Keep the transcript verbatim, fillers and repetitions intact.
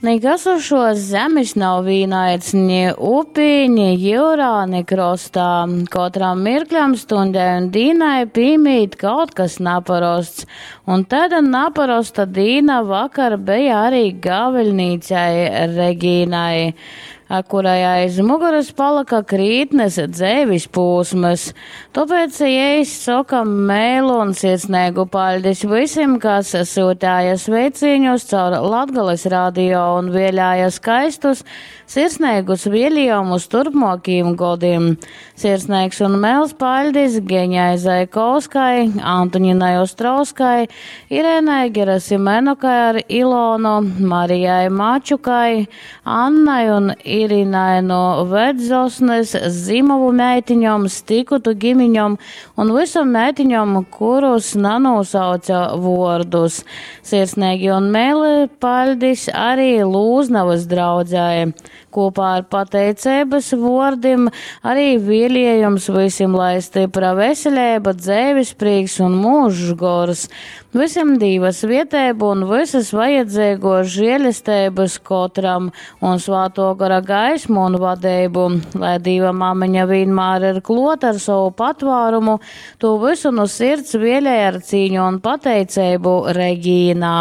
Nikas uz šuos zemis nav vīnaids ni upī, ni jiurā, ni krostā. Kotram mirkļam, stundei un dīnai pīmīt kaut kas naparosts. Un taida naparosta dīna vakar beja arī gaviļnīcai Regīnai, kurai aiz muguras palika krītnes dzeivis pūsmys. Tuopēc jei soka meilu un sirsneigu paļdis vysim, kas syutēja sveicīņus caur Latgales radio un vēlēja skaistus, sirsneigus vielējumus turpmuokīm godim. Sirsneigs un meils paļdis Geņai Zaikovskai, Antoninai Ostrovskai, Irēnai Gerasimenukai ar Ilonu, Marijai Mačukai, Annai un Irinai no Vedzosnes, Zimovu meitiņom, Stikutu gimiņom un visom meitiņom, kurus nanūsauca vuordus. Sirsneigi un meili paļdis arī Lūznavas draudzei. Kopā ar pateiceibys vuordim arī vieliejums vysim, lai stypra veseleiba, dzeivis prīks un mūžs gors. Vysim Dīva svieteibu un vysys vajadzeiguos žielesteibys kotram un Svātuo Gora gaismu un vadeibu. Lai Dīva mameņa vīnmār ir kluot ar sovu patvārumu, tū vysu nu sirds vielej ar cīņu un pateiceibu Regīna.